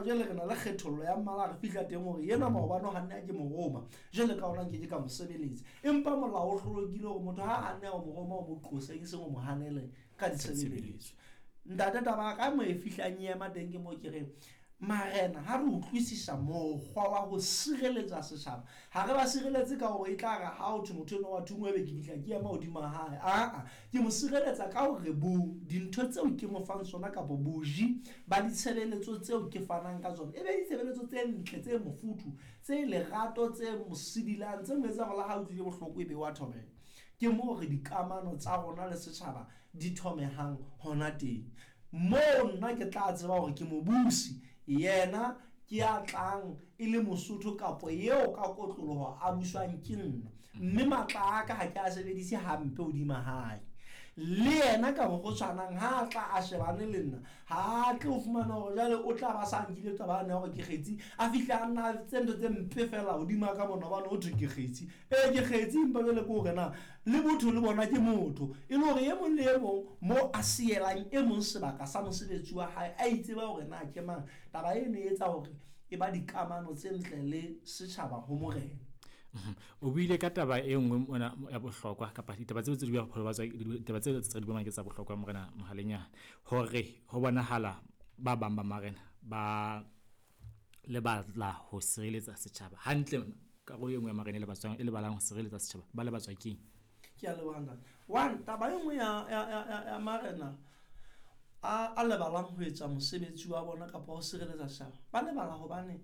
jwale re na le kgethollo ya mmala, re fihla teng hore yena maobane o hanne a ke mo roma, jwale ka hona nke ke ka mo sebeletsa. Empa molao o hlolokile hore motho ha a nne a o mo roma, o mo qose, e seng o mo hanele ka ditshebeletso. Ntate, taba ka mo e fihlang e ema teng ke mo ke reng marena ha re utlwisisa mokgwa wa ho sireletsa setjhaba, ha re ba sireletse ka hore e tla re ha ho thwe motho enwa wa thungwe ebe ke fihla ke ema hodima hae. Aa, ke mo sireletsa ka hore bo dintho tseo ke mo fang tsona kapa boji ba ditshebeletso tseo ke fanang ka tsona e be ditshebeletso tse ntle, tse mofuthu, tse lerato, tse mo sidilang, tse mo etsang hore le ha utlwile bohloko e be wa thobela. Ke moo re dikamano tsa rona le setjhaba di thomehang hona teng. Moo nna ke tla tseba hore ke mobusi, yena ke ya tlang e le Mosotho kapo eo ka kotloloho a buswang ke nna, mme matla a ka ha ke a sebedise hampe hodima hae. Le yena ka mokgwa o tshwanang ha a tla a shebane le nna, ha a tle ho fumana hore jwale o tla ba sa nkile taba yane ya hore ke kgetsi, a fihle a nna tse ntho tse mpe fela hodima ka mona hobane ho thwe ke kgetsi. Ee, ke kgetsi, empa jwale ke hore na le botho le bona ke motho, e le hore e mong le e mong mo a sielang e mong sebaka sa mosebetsi wa hae, a itseba hore na ke mang. Taba eno e etsa hore e ba dikamano tse ntle le setjhaba ho morena. O buile ka taba e nngwe mona ya bohlokwa, kapa ditaba tseo tse di buang ba tswa, ditaba tseo tse di buang ke tsa bohlokwa morena Mohalenyane, hore ho bonahala ba bang ba marena ba lebala ho sireletsa setjhaba hantle. Karolo e nngwe ya marena e lebatswang, e lebalang ho sireletsa setjhaba, ba lebatswa keng? Ke a leboha ntate. One, taba e nngwe ya marena a lebalang ho etsa mosebetsi wa bona kapa ho sireletsa setjhaba, ba lebala hobane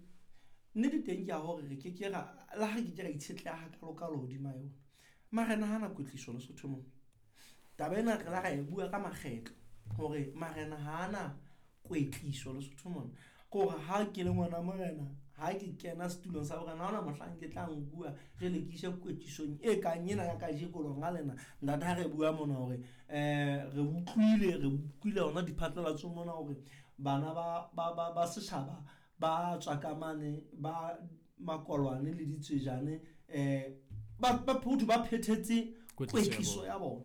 nnete teng ke ya hore re ke ke ra, le ha re ke ke ra itshetleha hakalo-kalo hodima yona. Marena ha na kwetliso Lesotho mona. Taba ena re la ra e bua ka makgetlo hore marena ha ana kwetliso Lesotho mona. Ke hore ha ke le ngwana morena, ha ke kena setulong sa borena, ha hona mohlang ke tla nkuwa jwale ke iswe kwetlisong e kang ena ya kajeko lona lena. Ntate, ha re bua mona hore re utlwile hona diphatlalatso mona hore bana ba setjhaba ba tswa ka mane, ba makolwane le ditswejane, ba photho ba phethetse kwetliso ya bona.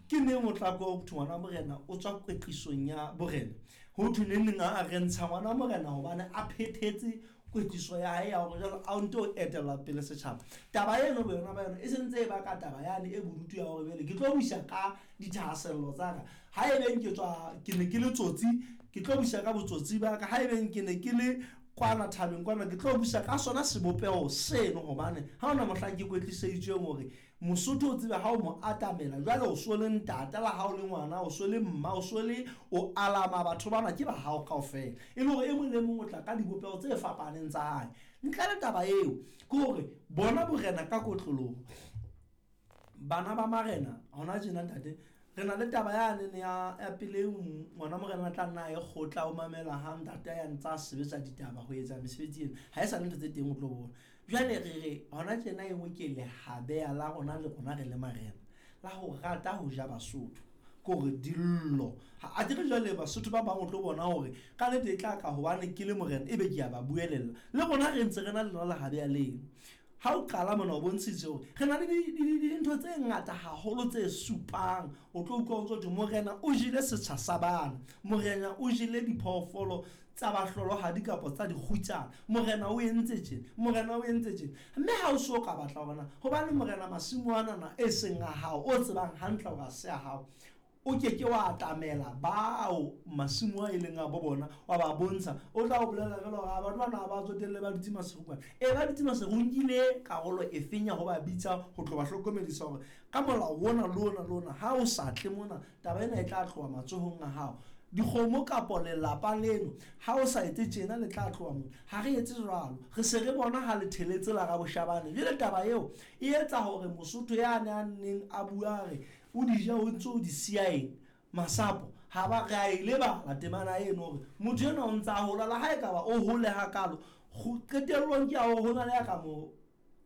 Ke neng o tla kwa ho thwe ngwana morena o tswa kwetlisong ya borena? Ho thwe neng neng a re ntsha ngwana morena hobane a phethetse kwetliso ya hae ya hore jwale a nto etella pele setjhaba. Taba eno boyona ba yona e sentse e baka taba yane e bodutu ya hore jwale ke tlo busa ka dithahasello tsa ka. Ha e beng ke tswa, ke ne ke le tsotsi, ke tlo busa ka botsotsi ba ka. Ha e beng ke ne ke le kwana thabeng kwana, ke tlo busa ka sona sebopeho seno, hobane ha hona mohlang ke kwetliseditsweng hore Mosotho o tsebe ha o mo atamela jwale o so le ntata, le ha o le ngwana, o so le mma, o so le o alama batho bana ke ba hao kaofela, e le hore e mong le mong o tla ka dibopeho tse fapaneng tsa hae. Ntle le taba eo ke hore bona borena ka kotloloho, bana ba marena hona tjena ntate, re na le taba yane ne ya pele ngwana morena tla nna a ye kgotla, o mamela ha ntate ya ntsa a sebetsa ditaba ho etsa mesebetsi ena, ha e sa le ntho tse teng o tlo bona. Jwale re re hona tjena e nngwe ke lehabeya la rona le rona re le marena la ho rata ho ja Basotho, ke hore dillo ha a dire. Jwale Basotho ba bang o tlo bona hore ka nnete e tla ka hobane ke le morena ebe ke a ba buelella, le rona re ntse re na le lona lehabeya leno. Ha o qala mona o bontshitse hore re na le dintho tse ngata haholo tse supang. O tlo utlwa o ntso thwe morena o jele setsha sa bana, morena o jele diphoofolo tsa bahlolohadi kapa tsa dikgutsana, morena o entse tjena, morena o entse tjena. Mme ha o so ka batla hore na hobane morena masimo anana e seng a hao, o tsebang hantle hore ha se a hao, o ke ke wa atamela bao masimo a e leng a bo bona wa ba bontsha. O tla o bolela jwalo hore batho bana ba tsotelle ba dutse maseru kwana. E, ba dutse maseru, o nkile karolo e feng ya ho ba bitsa ho tlo ba hlokomedisa hore ka molao ona le ona le ona ha o sa tle mona taba ena e tla tloha matsohong a hao. Dikgomo kapo lelapa leno ha o sa etse tjena le tla tloha mona. Ha re etse jwalo, re se re bona ha le theletse la Raboshabane. Jwale taba eo e etsa hore Mosotho yane a neng a bua re o di ja o ntso o di siya eng masapo, ha ba re a e lebala temana eno hore motho enwa o ntsa hola, le ha ekaba o hole hakalo, qetellong ke ya hore ho na le ya ka mo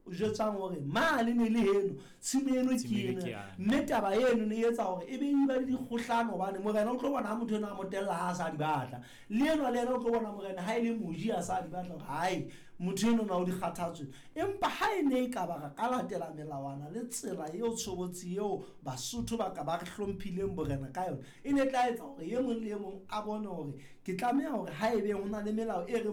jwetsang hore mane ne le heno, tshimo eno ke ena. Mme taba eno ne e etsa hore e be e ba le dikgohlano, hobane morena o tlo bona ha motho enwa a mo tella ha a sa di batla, le enwa le yena o tlo bona morena ha e le moji a sa di batla hore hai motho enwa na o di kgathatswe. Empa ha e ne e ka ba re ka latela melawana le tsela eo tshobotsi eo Basotho ba ka ba re hlomphileng borena ka yona, e ne tla etsa hore e mong le e mong a bone hore ke tlameha hore ha ebe ho na le melao e re